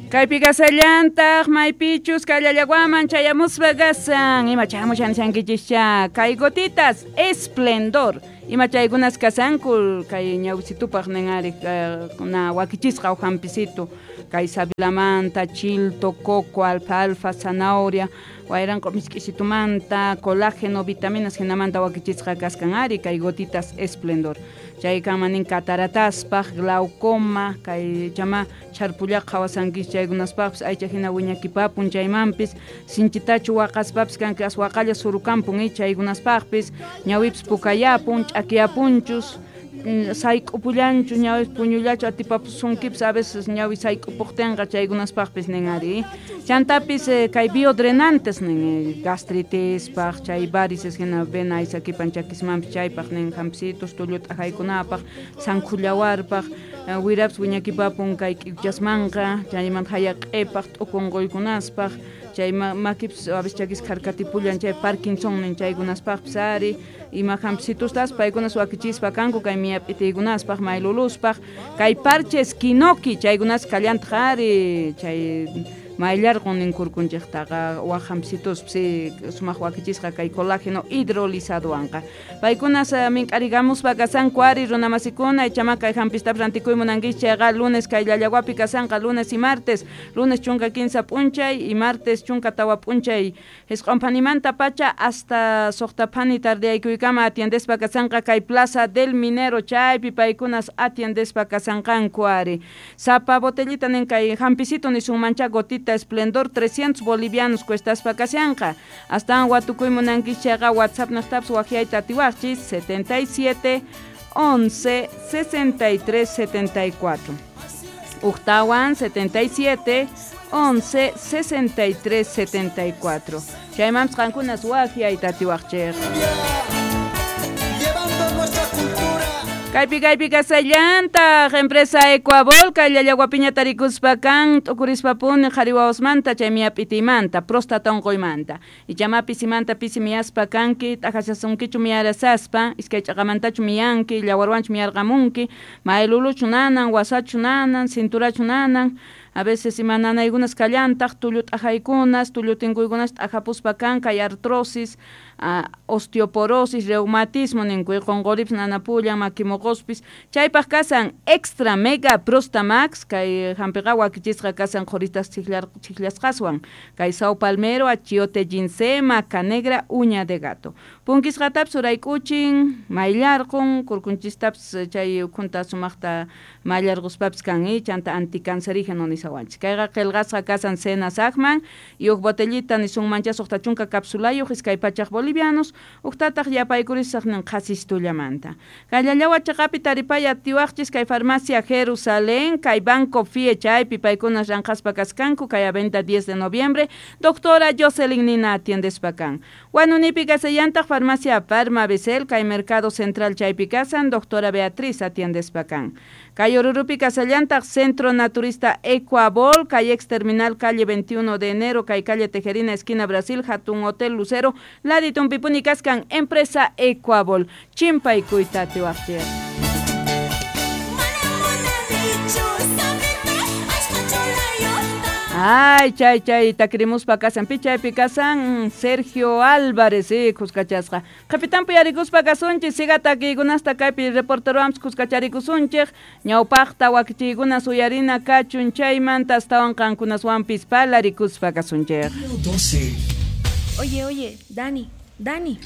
Kaypi kasallantaq maypichus kallallawaman chayamuspa kasan ima chamushan nishankichischa kay gotitas esplendor ima chaykunas kasanku kay ñawisitupaq nin ari na wakichisqa uj hampisitu kay sabilamanta chilto coco alfalfa zanahoria wayranqu misk'isitumanta colágeno vitaminas hinamanta wakichisqa kaskan ari kay gotitas esplendor chay kanman nin catarataspaq glaucoma kay chama chharpullaqa qhawasankis chaykunaspaqpis aycha hina wiñakipapun chaymanpis sinchitachu waqaspapis kanki as waqalla surukampun chaykunaspaqpis ñawipis pukayapun ch'akiyapunchus sayk'upullanchu ñawi puñullachu atipapusunkipis a veces ñawi sayk'upuqtinqa chaykunaspaqpis nin ari chantapis kay biodrenantes nin gastritispaq chay varices hina vena aysakipan chakismanpis chaypaq nin hampisitos tullu t'ajaykunapaq sankhullawarpaq wirapis wiñakipapun kay k'iwchasmanqa chaymanta hayaq'ipaq t'ukunquykunaspaq chay makipis a veces chakis kharkatipullan chay Parkinson nin chaykunaspaqpis ari ima hampisitostas paykunas wakichispa kanku kay miyap'itiykunaspaq mayluluspaq kay parches kinoki chaykunas kallantaq ari chay mayllarqun nin kurkunchiktaqa wak hampisituspi sumaq wakichisqa kay colágeno hidrolizadowanqa paykunas mink'arigamuspa kasanku ari runamasikuna ichama kay hampistapis rantikuy munankichik chayqa lunes kay llallawapi kasanqa lunes y martes lunes 13 p'unchay y martes 14 p'unchay 9 phanimanta pacha hasta 6 phani tardeyaykuykama atiendespa kasanqa kay Plaza del Minero chaypi paykunas atiendespa kasanqanku ari sapa botellita nin kay hampisito nisunmancha gotita esplendor 300 bolivianos cuestaspa kashanqa astawan watukuy munankichik chayqa WhatsApp niqtapis waqyayta atiwaqchis 77 11 63 74 Ujtawan 77 11 63 74 chaymanpis qankunas waqyayta atiwaqchik. Kaypi kaypi kasallantaq empresa Ecuabol kay llallawapiña tarikuspa kan t'ukurispapuni qhari wawasmanta chay miyap'itimanta próstata unquymanta ichama pisimanta pisi miyaspa kanki t'ajashasunkichu miyarasaspa iskay ch'aqamantachu miyanki llawarwanchu miyarqamunki mayluluchu nanan wasachu nanan cinturachu nanan a veces ima nanaykunas kallantaq tullu t'ajaykunas tullu tinkuykunas t'ajapuspa kan kay artrosis osteoporosis reumatismo ninkuy qunquripis nanapullan makimoqospis chaypaq kasan extra mega prostamax kay hampiqa wakichisqa kasan qhuritas chiklasqaswan kay sao palmero achiote ginseng maca negra uña de gato punkisqatapis urayk'uchin mayllarqun kurkunchistapis chay ukhunta sumaqta mayllarquspapis kan chanta anticancerígeno nisawanchik kayqa qillqasqa kasan cena saqman y huk botellita nisunmancha 60 capsulayuq 200 bolivianos uqtataq yapaykurisaq nin qhasistullamanta kallallawa chaqapi taripaya atiwaqchis kay farmacia Jerusalén kay Banco FIE chaypi paykunas ranqaspa kaskanku kay avenida 10 de noviembre doctora Jocelyn Nina atiendespa kan Huanunipi kasallantaq farmacia Farma Becel kay Mercado Central chaypi kasan doctora Beatriz atiendespa kan kay Orurupi kasallantaq Centro Naturista Ecuabol kay ex terminal calle 21 de enero kay calle Tejerina esquina Brasil Hatun Hotel Lucero Laditun Pipuni kaskan empresa Ecuabol chimpaykuyta atiwaqchik. Ay, chay, chay, takrimuspa kasan, pichaypi kasan, Sergio Álvarez, kuskachasqa. Qhipitampi yarikuspa kasunchik, siga takiykunasta kaypi reporterowanpis kuskacharikusunchik, ñawpaqta wakichiykunas uyarina kachun chaymanta astawan qankunaswanpis palarikuspa kasunchik. Oye, oye, Dani, Dani.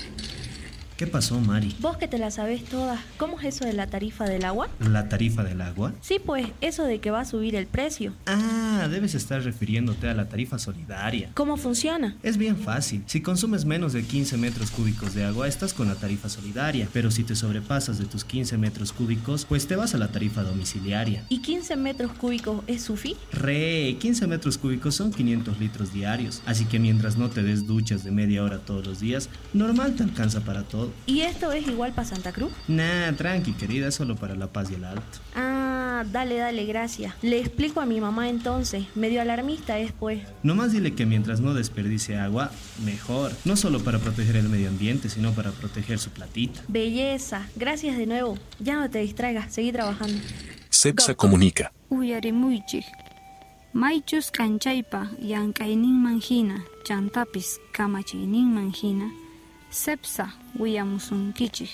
¿Qué pasó, Mari? Vos que te la sabés todas, ¿cómo es eso de la tarifa del agua? ¿La tarifa del agua? Sí, pues, eso de que va a subir el precio. Ah, debes estar refiriéndote a la tarifa solidaria. ¿Cómo funciona? Es bien fácil. Si consumes menos de 15 metros cúbicos de agua, estás con la tarifa solidaria. Pero si te sobrepasas de tus 15 metros cúbicos, pues te vas a la tarifa domiciliaria. ¿Y 15 metros cúbicos es sufi? Re, 15 metros cúbicos son 500 litros diarios. Así que mientras no te des duchas de media hora todos los días, normal te alcanza para todo. ¿Y esto es igual para Santa Cruz? Nah, tranqui, querida, solo para La Paz y el Alto. Ah, dale, dale, gracias. Le explico a mi mamá entonces, medio alarmista es, pues. Nomás dile que mientras no desperdicie agua, mejor. No solo para proteger el medio ambiente, sino para proteger su platita. Belleza, gracias de nuevo. Ya no te distraigas, seguí trabajando. Cepsa comunica. Uyarimuichik. Maychus k'anchaypa llank'ayninman hina chantapis kamachiyninman hina CEPSA willamusunkichik.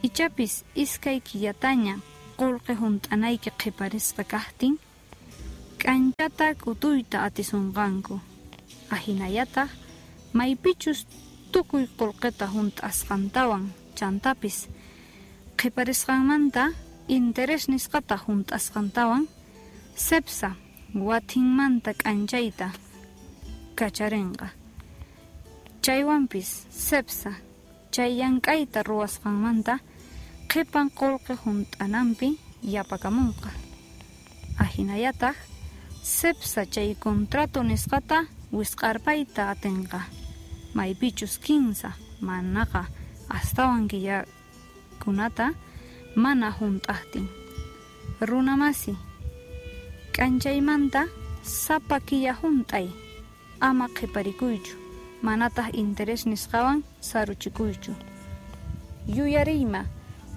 Ichapis iskay killataña qullqi hunt'anayki qhiparisqa kaqtin k'anchata k'utuyta atisunqanku. Ahinallataq maypichus tukuy qullqita hunt'asqantawan chantapis qhiparisqanmanta interés nisqata hunt'asqantawan CEPSA watinmanta k'anchayta kacharinqa. Chaywanpis CEPSA chay llank'ayta ruwasqanmanta qhipan qullqi hunt'ananpi yapakamunqa. Ahinallataq CEPSA chay contrato nisqata wisq'arpayta atinqa. Maypichus 15 manaqa astawan killakunata mana hunt'aqtin. Runamasi k'anchaymanta sapa killa hunt'ay ama qhiparikuychu manataq interés nisqawan saruchikuychu. Yuyariyma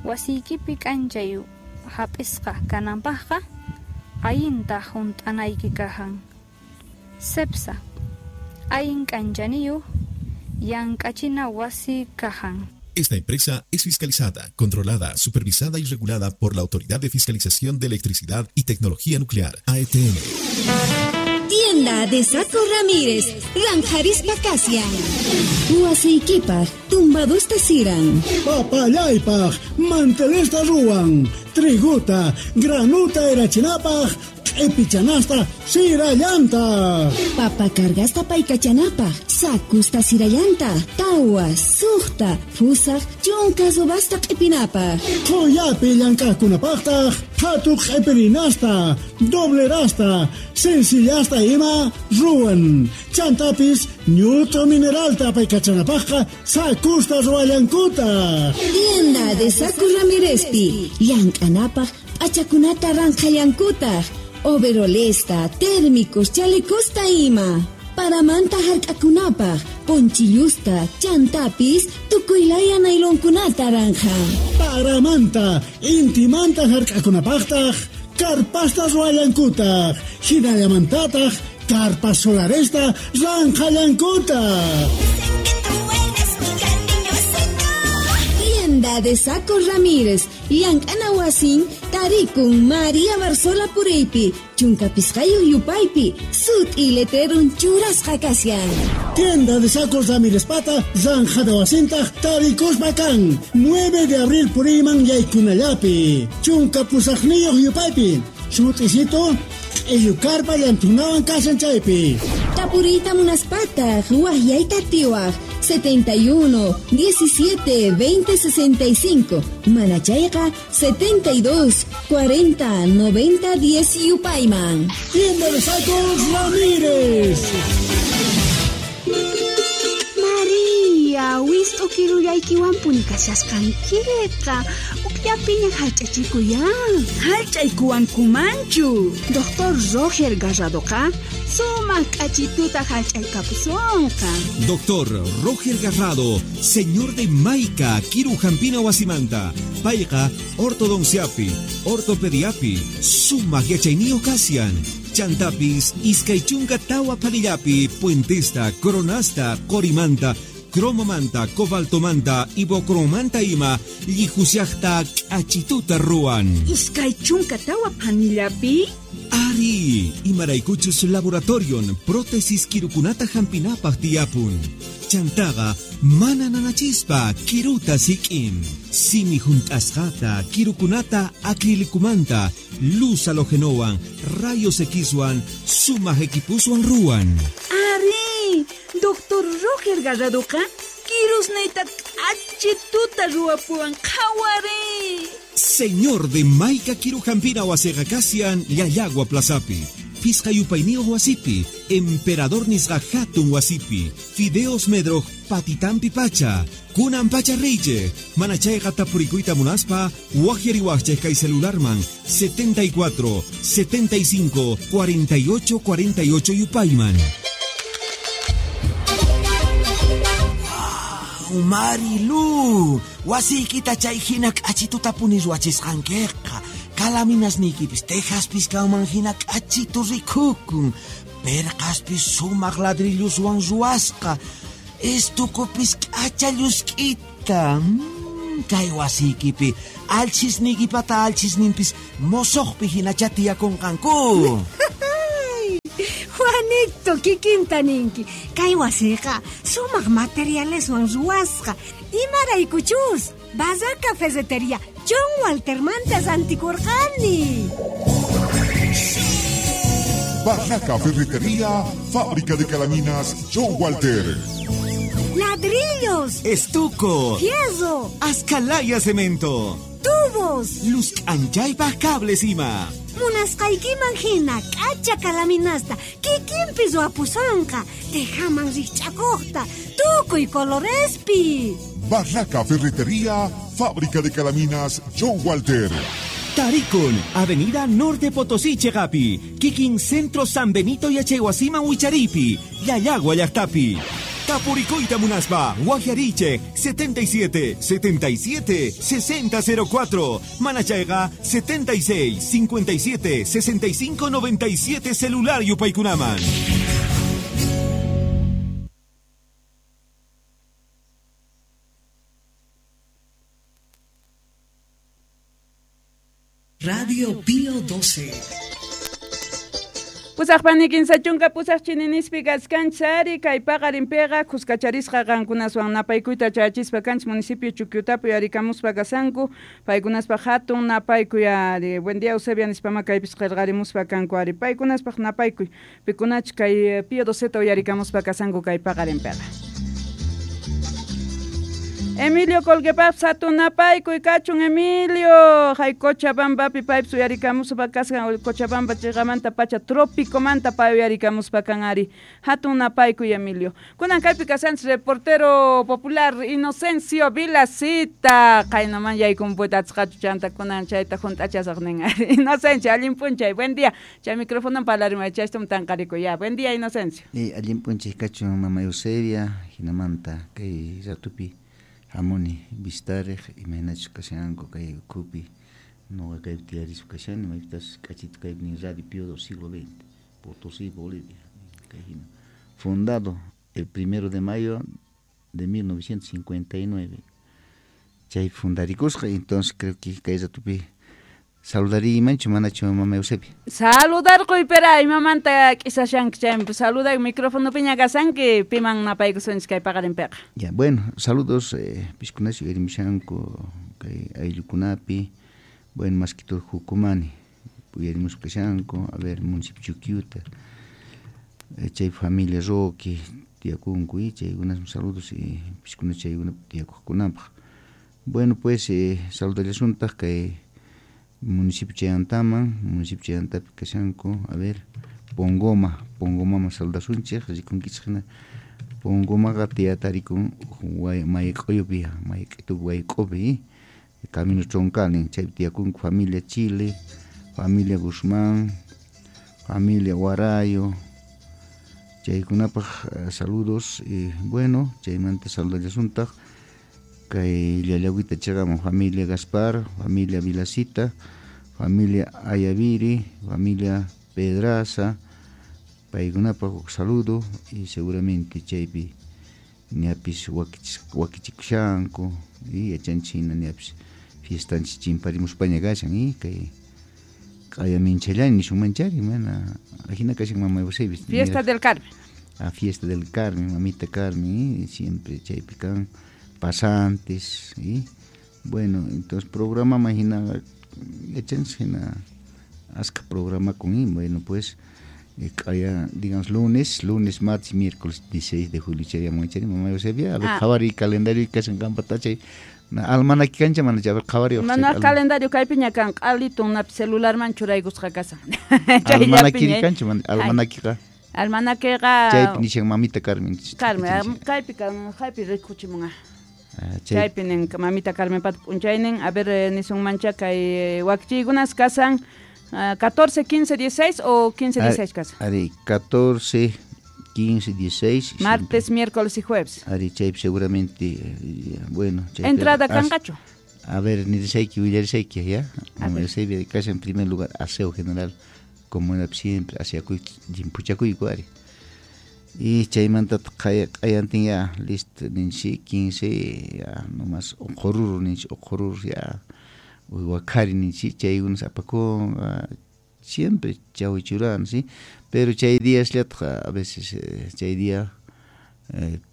wasiykipi k'anchay hap'isqa kananpaqqa allinta hunt'anayki kahan. CEPSA allin k'anchaniyuq llank'achina wasi kahan. Esta empresa es fiscalizada, controlada, supervisada y regulada por la Autoridad de Fiscalización de Electricidad y Tecnología Nuclear, AETN. Tienda de Saco Ramírez, Ranjarispa Kasian. Wasiykipaq, tumbadusta siran. Papallaypaq, mantelesta ruwan. Triguta, granuta erachinapaq, q'ipichanasta sirallanta. Papa cargasta paykachanapaq, sakusta sirallanta, tawa, suqta, fusaq, chunka subasta q'ipinapaq. Qhuyapi llank'aqkunapaqtaq, qhatu q'ipirinasta, doblerasta, sencillasta ima ruwan. Chantapis ñut'u mineralta paykachanapaqqa sakusta ruwallankutaq. Tienda de Saco Ramírezpi, llank'anapaq p'achakunata ranqhallankutaq. Overolesta, térmicos, chalecosta ima. Paramanta hark'akunapaq, ponchillusta, chantapis, tukuylaya nailonkunata ranja. Paramanta, intimanta hark'akunapaqtaq, karpasta ruwallankutaq, hinallamantataq, karpas solaresta ranqhallankutaq. Tienda de Saco Ramírez, llank'ana wasin, tarikun María Barzola Pureypi, chunka pisqayuq yupaypi, sut'i letrerun churasqa kashan. Tienda de Sacos Ramírez pata, zanjada wasintaq, tarikuspa kan, 9 de abril puriyman yaykunallapi, chunka pusaqniyuq yupaypi, sut'isito, q'illukarpa llantunawan kashan chaypi. Tapuriyta munaspataq, waqyayta atiwaq, 71 17 20 65, manachayqa 72 40 90 10 yupayman. Tienda de Sacos Ramírez. María, wist'u kirullaykiwanpuni kashasqankiqa, ukllapiña hallch'achikuyan. Hallch'aykuwankumanchu. Doctor Roger Garradoqa sumaq k'achituta hallch'aykapusunqa. Doctor Roger Garrado, señor de Maica, Kiru Jampina Wasimanta, payqa ortodonciapi, ortopediapi, sumaq yachayniyuq kashan. Chantapis, iskay chunka tawa panillapi, puentesta, coronasta, qorimanta, cromomanta, cobaltomanta, ibocromanta ima, llihusiaqta k'achituta ruwan. Iskay chunka tawa panillapi? Ari, imaraykuchus laboratorion, prótesis kirukunata hampinapaq tiyapun. Chantaqa mana nanachispa kiruta sik'in. Simi hunt'asqata, kirukunata acrilicumanta, luz halogenowan, rayos Xwan, sumaq equipuswan ruwan. Ari, Doctor Roger Garradoqa kirusniyta k'achituta ruwapuwan qhawari. Señor de Maica Kirujampina wasiqa kashan Llallagua Plazapi, Pisqa yupayniyuq wasipi, Emperador nisqa hatun wasipi, Fideos Medroj patitampi pacha, kunan pacha reyche, manachayqa tapurikuyta munaspa, waqyariwaqchik kay celularman 74 75 48 48 yupayman. Marilu, wasiykita chay hina k'achitutapuni ruwachisqankiqa. Kalaminasniykipis Texaspis kanman hina k'achitu rikukun. Perqaspis sumaq ladrilluswan ruwasqa. Estukupis k'acha llusk'ita. Kay wasiykipi alchisniykipata alchisninpis mosoqpi hinacha tiyakunqanku. Juanito, kikinta ninki. Kay wasiqa sumaq materialeswan ruwasqa. Imaraykuchus Barraca Ferretería John Waltermanta rantikurqani. Barraca Ferretería, fábrica de calaminas John Walter. Ladrillos, estuco, fierro, ascalaya cemento, tubos, luz anchaypaq cables ima. Munasqaykiman hina k'acha kalaminasta kikinpi ruwapusonqa, tejaman rikch'akuqta, tukuy colorespi. Barraca Ferretería, fábrica de calaminas John Walter. Tarikun, Avenida Norte Potosí, Chegapi, Kikin Centro San Benito Yachaywasiman Wicharipi, Llallagua llaqtapi. Tapuricoita Munaspa, Guajariche, 77 77 6004, Manachayga, 76 57 65 97 celular Yupaykunaman. Radio Pío 12. Pusaqpani kinsa chunka pusaq chininispi kaskanchari kay paqarinpiqa kuskacharisqa qankunaswan napaykuyta chayachispa kanchis municipio Chuquiutapi uyarikamuspa kasanku paykunaspaq hatun napaykuy ari. Buen día Eusebia nispama kaypis qillqarimuspa kanku ari paykunaspaq napaykuy pikunach kay Pío 12 uyarikamuspa kasanku kay paqarinpiqa. Emilio Colquepap hatun napaykuy kachun Emilio hay Cochabambapi paypis uyarikamuspa kasqan Cochabamba chiqamanta pacha tropicomanta pay uyarikamuspa kan ari hatun napaykuy Emilio. Kunan kaypi kasanchis reportero popular Inocencio Vilacita qaynaman yaykunpuyta atisqachu chanta kunan chayta hunt'achasaq nin ari. Inocencio allin p'unchay, buen día. Chay microfonon parlarimay chaytam tanqarikuy ya. Buen día Inocencio. Allin p'unchay kachun mama Eusebia hinamanta kay ratupi hamuni vistarej imaynachus kashanku kay ukhupi noqa kaypi tiyarispa kashani maypitas k'achita kaypi nin Radio Pío del siglo XX Potosí, Bolivia kay hina fundado el 1 de mayo de 1959 chay fundarikusqa. Entonces creo que kay ratupi saludariymanchu manachu mama Eusebia? Saludarquy pero imamanta k'isashanki chaymi saluday micrófono piña kasanki piman napaykusunchis kay paqarinpiqa. Ya, bueno, saludos piskunachu uyarimushanku kay ayllukunapi, bueno, más que todo Jucumani uyarimuspa kashanku, a ver, municipio Chuquiuta, chay familia Roque tiyakunku y chaykunas saludos y piskunachu chaykunapi tiyakuqkunapaq. Bueno, pues saludallasuntaq kay municipio Chayantaman, municipio Chayantapi kashanku, a ver, Pongoma, Pongomaman saludasunchik, rikunkichik hina Pongomaqa tiyatarikun mayq'uyupi, mayq'itupi wayk'upi, camino troncal nin, chaypi tiyakunku familia Chile, familia Guzmán, familia Guarayo, chaykunapaq saludos y bueno, chaymanta saludallasuntaq kay Llallagüita chaqaman familia Gaspar, familia Vilacita, familia Ayaviri, familia Pedraza, paykunapaq huk saludo y seguramente chaypi ñapis wakichikushanku y yachanchik hina ñapis fiestanchik chimparimuspaña kashan y kay q'ayaminchallani nisunmanchari mana ajina kashan mama Eusebia. Fiesta del Carmen. A fiesta del Carmen, mamita Carmen, y siempre chaypi kan pasantes y bueno, entonces programa imagina yachanchik hina aska programa con y bueno pues kaya digamos lunes, martes, miércoles 16 de julio chayamun chari mama Eusebia a ver qhawari calendario kashan qanpata chay almanaki kancha mana chay qhawari mana calendario kaypiña kan q'alitun napi celularman churaykusqa kasan. Almanakiri kancha almanakiqa almanakiqa chaypi nishan mamita Carmen. Carmen kaypi kan kaypi rikuchimunqa. Chaypi nin mamita Carmen pat p'unchaynin a ver nisunmancha kay wakichiykunas kasan 14, 15, 16 o 15, 16 kasan. Ari 14, 15, 16. Martes, miércoles y jueves. Ari chaypi seguramente bueno. Chaypi, entrada kanqachu. A ver, nirishayki willarishayki ya. Mama Eusebia kashan en primer lugar aseo general como era siempre aseakuy llimpuchakuyku ari. Y chaymanta q'ayantin ya listo ninchi 15 ya nomás uqururu ninchi uqururu ya uywakari ninchi chaykunas apakunqa siempre chawchiruran, ¿sí? Pero chay días a veces chay día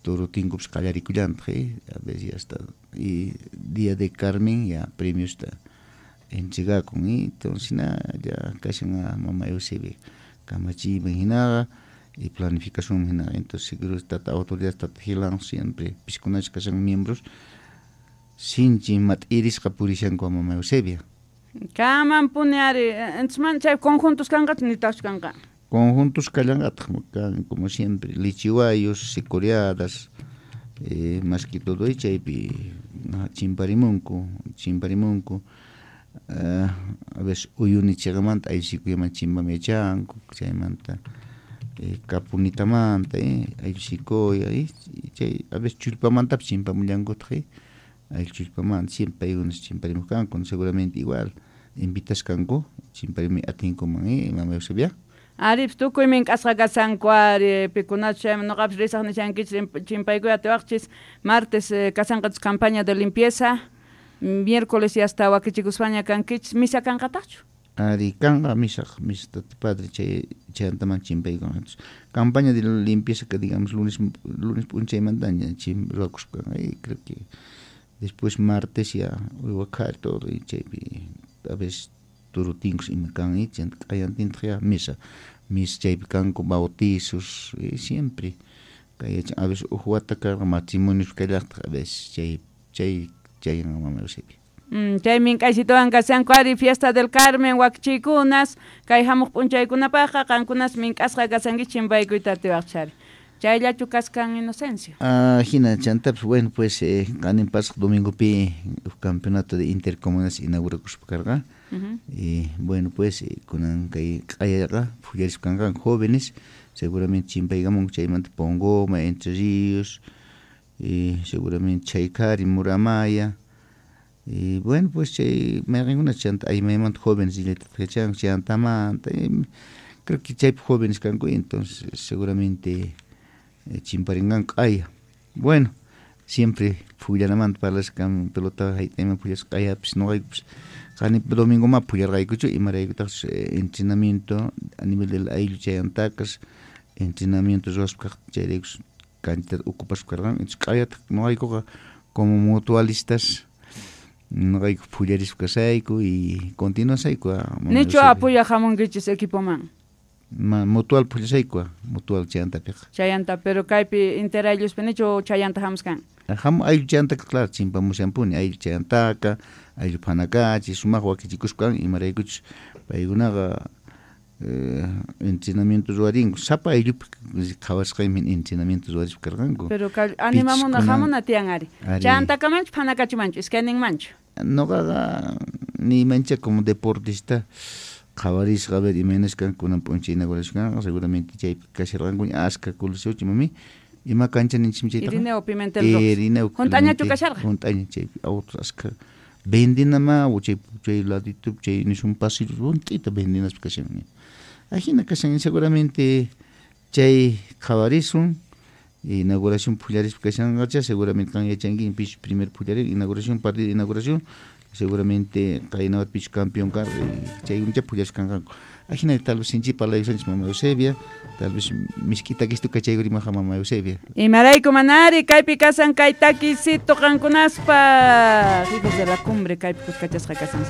toro tinkupas qallarikullantaq, a veces ya está y día de Carmen ya premios está entregakun, y entonces na ya kashan mama Eusebia kamachiyman hinaqa y planificación hina, entonces seguro tata autoridad tata Gilan siempre piskunach kashan miembros sinchi mat'irisqa purishanku mama Eusebia. Kaman puni ari, entonces chay conjuntos kanqachu nitaqchu kanqa? Conjuntos kallanqataq kan como siempre lichiwayos, sicoriadas, más que todo y chaypi chimparimunku, a veces uyuni chiqamanta ayllusikuyaman chimpamyachanku, chaymanta kapunitamanta, ayllusikuya, chay a veces chullpamantapis chimpamullankutaq, ayllu chullpamanta siempre paykunas chimparimuq kanku, seguramente igual invitaskanku chimparimuy atinkuman, mama Eusebia. Aripis tukuy mink'asqa kasanku ari pikunachu chayman noqapis risaq nishankichis chimpaykuy atiwaqchis martes kasanqachis campaña de limpieza miércoles ya hasta wakichikuspaña kankichis misa kanqataqchu? Ari kanqa misaq misa tata padre chay chaymantaman chimpaykun. Campaña de limpieza que digamos lunes p'unchaymantaña chim ruwakuspa creo que después martes ya uywakari todo y chaypi a veces turutinkus ima kan chayanta q'ayantintaq ya misa chaypi kanku bautizos siempre kay a veces uj wata karqa matrimonios kallaqtaq a veces chay chayan mama Eusebia. Chay mink'aysituwan kasanku ari fiesta del Carmen wakichiykunas kay hamuq p'unchaykunapaqqa qankunas mink'asqa kasankichis chimpaykuyta atiwaqchari. Chayllachu kaskan Inocencio. Hina chantapis bueno pues qanin pasaq domingopi campeonato de intercomunidades inaugurakuspa karqa. Y bueno pues kunan kay q'ayaqa phullarispa kanqanku jóvenes seguramente chimpaykamunku chaymanta Pongoma, Entre Ríos, y seguramente Chaykari, Muramaya. Y bueno pues chay mayqinkuna chanta aymaymanta jóvenes illayta chantamanta, creo que chaypi jóvenes kanku, entonces seguramente chimparinqanku q'aya. Bueno, siempre phuyllanamanta parlasqa pelota hayt'ayman phullasqa q'ayapis noqaykupis qani domingo ma phullarqaykuchu imaraykutaqchus entrenamiento a nivel del ayllu chayantakas entrenamiento ruwaspa kaq chayraykus canchitata ocupaspa karqan, entonces q'ayataq noqaykuqa como mutualistas noqayku phullarispa kasayku y continuasayku. Nichu apoyaq hamunkichis equipoman? Mutual phullasayku, mutual chayantapiqa. Chayanta, pero kaypi interaylluspi nichu chayanta hamuskan? Hamu ayllu chayantaka, claro, chimpamushanpuni, ayllu chayantaka, ayllu phanakachi, sumaq wakichikuspa imaraykuchus paykunaqa entrenamiento ruwarinku, sapa ayllupi qhawasqaymi entrenamiento ruwarispa karqanku. Pero animamuna hamuna tiyan ari. Chayantakamanchu phanakachimanchu, iskayninmanchu? Noqaqa niymancha como deportista qhawarisqa a ver imaynas kan kunan p'unchay inauguración seguramente chaypi kasharqanku aska coliseo chimami ima cancha ninchikmi chaytaqa Irineo Pimentel Rojas. Irineo Hunt'añachu kasharqa? Hunt'aña chaypi autos aska vendinama chay chay ladito chay nisun pasillo hunt'ita vendinaspa kashan. Ajina kashan seguramente chay qhawarisun inauguración phullarispa kashanqacha seguramente kan yachanki pis primer phullarin inauguración partido inauguración seguramente qaynawat pich campeón kar chaykuncha phullasqa kanqanku. Ajina tal vez sinchi parlayusanchis mama Eusebia, tal vez misk'i takistu kachaykurimaqqa mama Eusebia. Imarayku manari kaypi kasan kay takisito qankunaspa hijos de la cumbre kaypi kuskachasqa kasan.